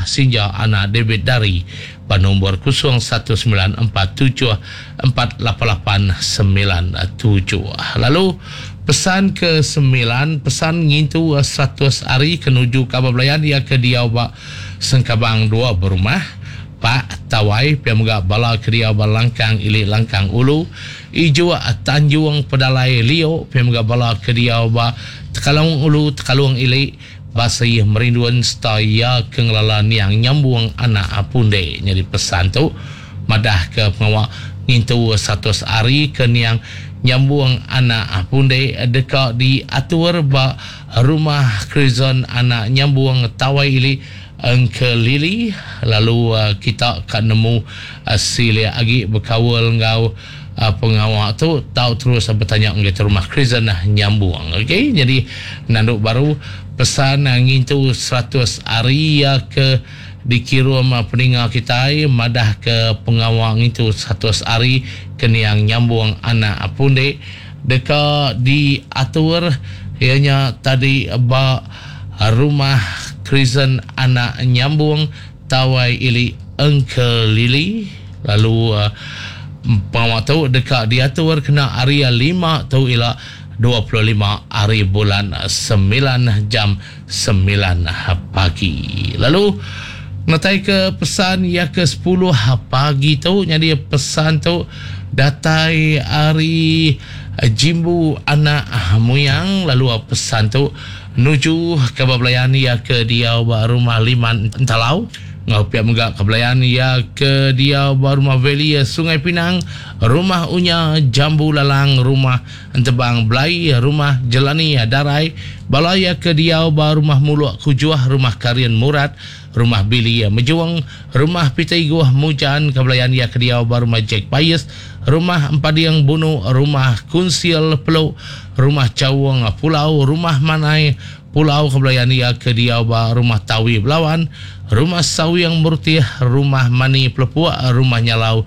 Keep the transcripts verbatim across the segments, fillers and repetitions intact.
Sinja anak David Dari ba nombor kosong satu sembilan empat tujuh empat lapan lapan sembilan tujuh. Lalu pesan ke sembilan, pesan ngintu seratus hari ke nuju kabar belayan ia ke diau ba Sengkabang dua berumah Pak Tawai pia mega bala ke diau ba Langkang Ili Langkang Ulu Ijuk Tanjung Pedalai Lio pia mega bala ke diau ba Tekalung Ulu Tekalung Ili Basih Merindun serta ia ke ngelala niang nyambung anak Punde. Jadi pesan tu madah ke pengawa ngintu seratus hari ke niang nyambung anak Punde deka diatur ba rumah Krizon anak nyambung Tawai Ili Engkelili. Lalu kita ka nemu silik agi berkaul ngau pengawa tu tau terus bertanya ngagai rumah Krizon nyambung. Okey, jadi nanduk baru pesan ngintu seratus hari ke dikirum peninga kita madah ke pengawa ngintu seratus hari ke niang nyambung anak Punde deka diatur ianya tadi ba rumah Krizon anak nyambung Tawai Ili Engkelili. Lalu uh, pengawa tu deka diatur kena hari lima tu ila dua puluh lima hari bulan sembilan jam sembilan pagi. Lalu natai ke pesan ya ke sepuluh pagi tu, jadi pesan tu datai hari Jimbu anak Muyang. Lalu pesan tu nuju ke belayan ya ke dia ba rumah Liman Entalau. Ngau pihak mega ke belayan ya ke dia ba rumah Valley Sungai Pinang, rumah Unya Jambu Lalang, rumah Entebang Belai, rumah Jelani Darai, balaya ke dia ba rumah Muluk Kujuh, rumah Karian Murat, rumah Billy Mejuang, rumah Peter Iguh Mujan, ke belayan ya ke dia ba rumah Jack Payes, rumah Empadiang Bunu, rumah Kunsil Peluk, rumah Cawang Pulau, rumah Manai Pulau, ke belayan ya ke dia ba rumah Tawi Belawan, rumah Sawiang Murtih, rumah Mani Pelepuk, rumah Nyalau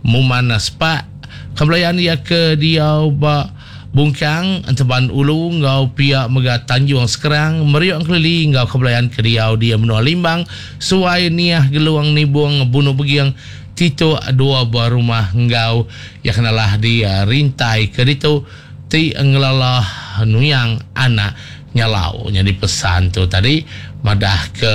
Muman Sepak, ke belayan ya ke dia ba Bungkang Enteban Ulu ngau pihak mega Tanjung Sekerang, Meriok Kelili ngau ke belayan ke dia dia menua Limbang, Suai Niah Geluang Nibung Bunu Begiang, Tito dua buah rumah ngau ya kenalah di rintai ke ditu ti ngelala nuyang anak Nyalau. Jadi pesan tu tadi madah ke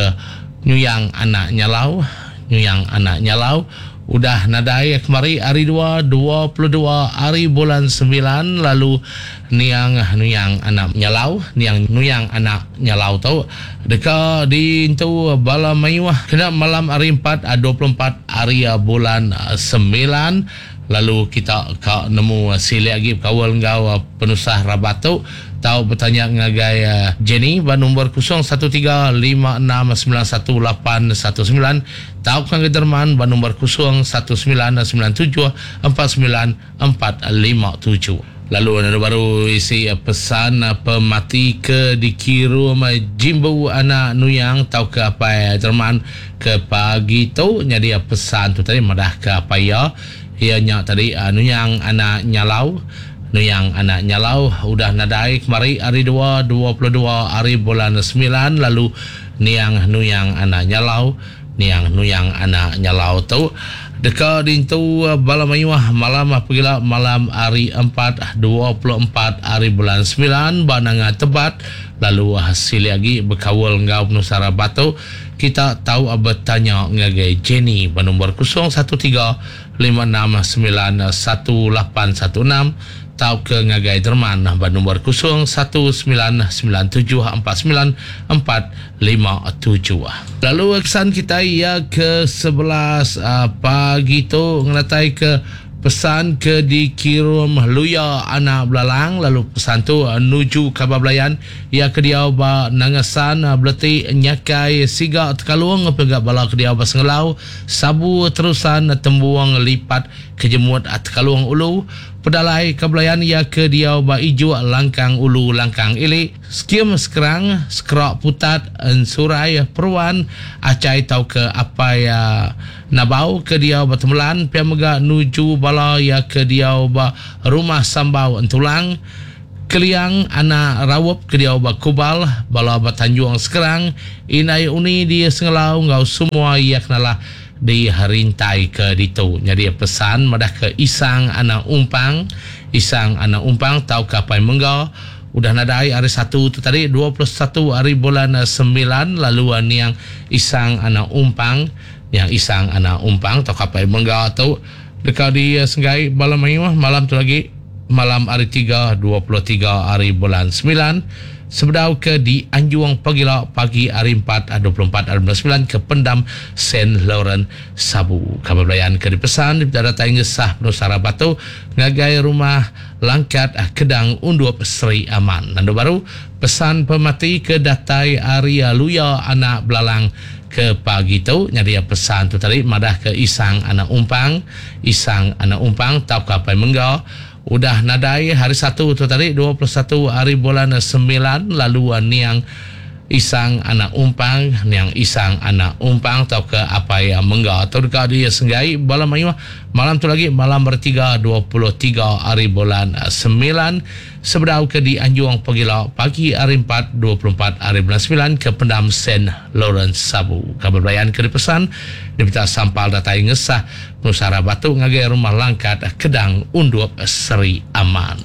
nuyang anak Nyalau, nuyang anak Nyalau udah nadai kemari hari dua, dua puluh dua hari bulan sembilan. Lalu niang nuyang anak Nyalau, niang nuyang anak Nyalau tu deka diintu bala mayuh kena malam hari empat, dua puluh empat hari bulan sembilan. Lalu kita ka nemu silik lagi berkawal ngau penusah rabat tu tau bertanya ngagai Jenny ba nombor kosong satu tiga lima enam sembilan satu lapan satu sembilan, tau ke ngagai Derman ba nombor kosong satu sembilan sembilan tujuh empat sembilan empat lima tujuh. Lalu ada baru isi pesan pemati ke dikirum Jimbu anak Nuyang tau ke apa Derman ke pagi tu. Jadi pesan tu tadi madah ke apa ya ianya tadi Nuyang anak Nyalau, Nuyang anak Nyalau udah nadai kemari hari dua, dua puluh dua hari bulan sembilan. Lalu niang Nuyang anak Nyalau, niang Nuyang anak Nyalau tu deka dintu bala mayuh malam pegila malam hari empat, dua puluh empat hari bulan sembilan ba Nanga Tebat. Lalu hasil lagi berkawal ngau penusara batu kita tahu bertanya ngagai Jenny ba nombor kosong satu tiga lima enam sembilan satu lapan satu enam, tau ke ngagai Derman ba nombor kosong satu sembilan sembilan tujuh empat sembilan empat lima tujuh. Lalu kesan kita ia ke sebelas uh, pagi tu ngenatai ke pesan ke dikirim Luya anak Belalang. Lalu pesan tu uh, nuju kabar belayan ia ke dia ba Nangasan Beleti Nyakai Siga Tekalung pegak bala ke dia ba Sengelau Sabu Terusan Tembuang Lipat Kejemut Tekalung Ulu Pedalai kebelayan ia ke dia ba Ijuk Langkang Ulu Langkang Ili Skim Sekerang Sekerak Putat Ensurai Peruan Acai tau ke apai uh, Nabau ke dia ba Temelan pia mega nuju bala ia ke dia ba Rumah Sambau Entulang Keliang anak Rawop ke diau ba Kubal, bala ba Tanjung Sekerang, Indai Uni di Sengelau enggau semua iya kenalah di rintai ke ditu. Nyadi pesan madah ke Isang anak Umpang, Isang anak Umpang tauka Apai Mengga udah nadai hari satu tu tadi dua puluh satu hari bulan sembilan, lalu niang Isang anak Umpang, niang Isang anak Umpang tauka Apai Mengga tu deka disenggai bala mayuh malam tu lagi, malam hari tiga dua puluh tiga hari bulan sembilan, sebedau ke di Anjung pagila pagi hari empat dua puluh empat hari bulan sembilan ke Pendam Saint Laurent Sabu. Kabar belayan ke dipesan datai ngesah Penusara Batu ngagai rumah Langkat Kedang Undup Seri Aman. Nandu baru pesan pemati ke datai hari Luya anak Belalang ke pagi tu. Jadi pesan tu tadi madah ke Isang anak Umpang, Isang anak Umpang tauka Apai Mengga udah nadai hari satu tu tadi dua puluh satu hari bulan sembilan, lalu niang Isang anak Umpang, niang Isang anak Umpang tauka Apai Mengga tu deka disenggai bala mayuh malam tu lagi, malam bertiga dua puluh tiga hari bulan sembilan, sebedau ke di Anjung pagila pagi hari empat dua puluh empat hari bulan sembilan ke Pendam Saint Lawrence Sabu. Kabar belayan ke dipesan diminta sampal datai ngesah Penusara Batu ngagai rumah Langkat Kedang Undup Seri Aman.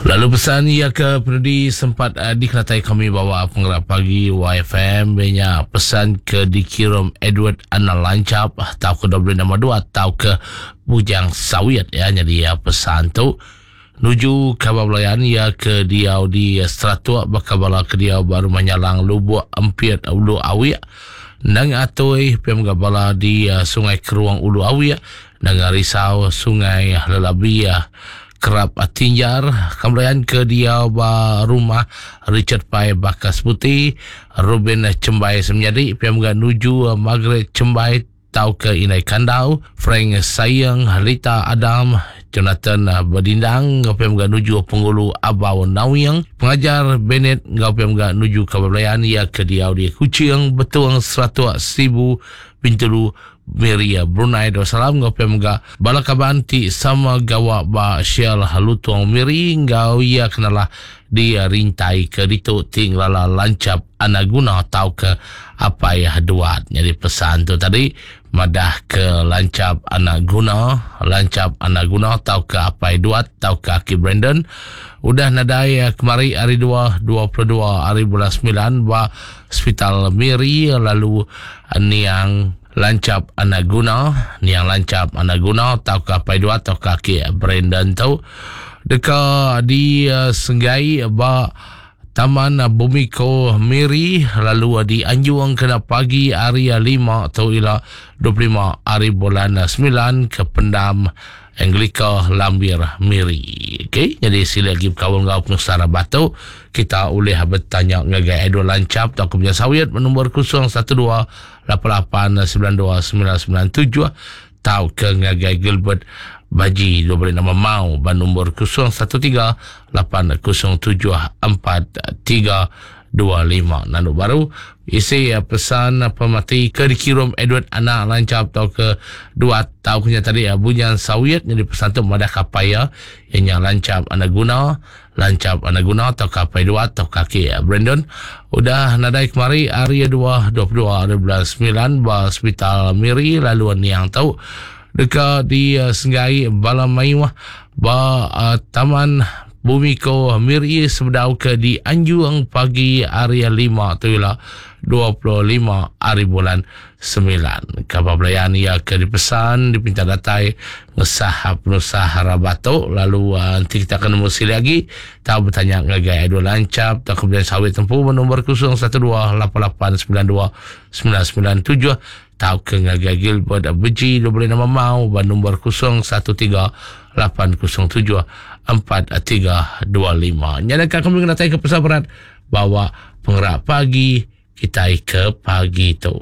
Lalu pesan ia ke penudi sempat uh, dikelatai kami bawa penggerak pagi Y F M nya pesan ke dikirim Edward Anna Lancap atau ke W enam dua atau ke Bujang Sawit ya. Jadi ya, pesan tu nuju kabar belayan ia ke diau di Seratuk bakal bala ke diau baru menyalang Lubuk Empiet Ulu Awik nang atoi P M Gabala di uh, Sungai Keruang Ulu Awik nang Risau Sungai Lelabi uh, Kerap Tinjar. Kemudian ke dia ba rumah Richard Pai Bakas Putih Ruben Cembai semenjadi P M G nuju Margaret Cembai tau ke Inai Kandau Frank Sayang Rita Adam Jonathan Berdindang P M G nuju Penghulu Abau Nawiang Pengajar Bennett P M G nuju Kabablayan ia ke dia di Kuching Betuang Seratus Sibu Bintulu Miri Brunei Darussalam ngau P M G bala kaban ti sama gawa ba Shell Lutuang Miri ngau ia kenalah di rintai ke ditu ting lala lancap anaguna tau ke apai duat. Jadi pesan tu tadi madah ke lancap anaguna, lancap anaguna tau ke apai duat tau ke Aki Brandon udah nadai kemari hari dua dua puluh dua hari bulan sembilan ba Hospital Miri, lalu niang lancap anaguna, niang lancap anaguna tau ke apai dua tau ke Aki Brandon tu deka di uh, senggai ba Taman Bumiko Miri, lalu di Anjung kena pagi hari lima atau ila dua puluh lima hari bulan sembilan ke Pendam Anglika Lambir Miri. Okey, jadi sila lagi berkawan dengan Penusara Batu, kita boleh bertanya ngagai Edward Lancap atau Kemudian Sawit nombor kosong satu dua lapan lapan sembilan dua sembilan sembilan tujuh atau ke ngagai Gilbert Baji dua boleh nama mau ban nombor kosong satu tiga lapan kosong tujuh empat tiga dua lima. Nanu baru isi pesan pemati ke dikirim Edward anak lancap atau ke dua tau kenya tadi Bunyan Sawit jadi pesan tu madah kapaya yang lancap anak guna, lancap anak guna atau kapai dua atau kaki Brandon udah nadai kemari hari dua dua puluh dua hari bulan sembilan ba Hospital Miri, lalu yang tahu dekat di uh, Senggai Bala Maiwah ba uh, Taman Bumiko Miri sebedau ke di Anjung pagi hari lima tu ialah dua puluh lima hari bulan sembilan. Kabar belayan ia ke dipesan dipinta datai ngesah penusah Rabato, lalu uh, nanti kita akan nemu sili lagi tahu bertanya ngagai Edward Lancap atau kemudian Sawit Tempuh nombor kosong satu dua lapan lapan sembilan dua sembilan sembilan tujuh tahu ke ngagai Gilbert Beji dua boleh nama mau ban nombor kosong satu tiga lapan kosong tujuh empat tiga dua lima. Nyalakan kami kena ke pesan berat bawa penggerak pagi kita ke pagi tu.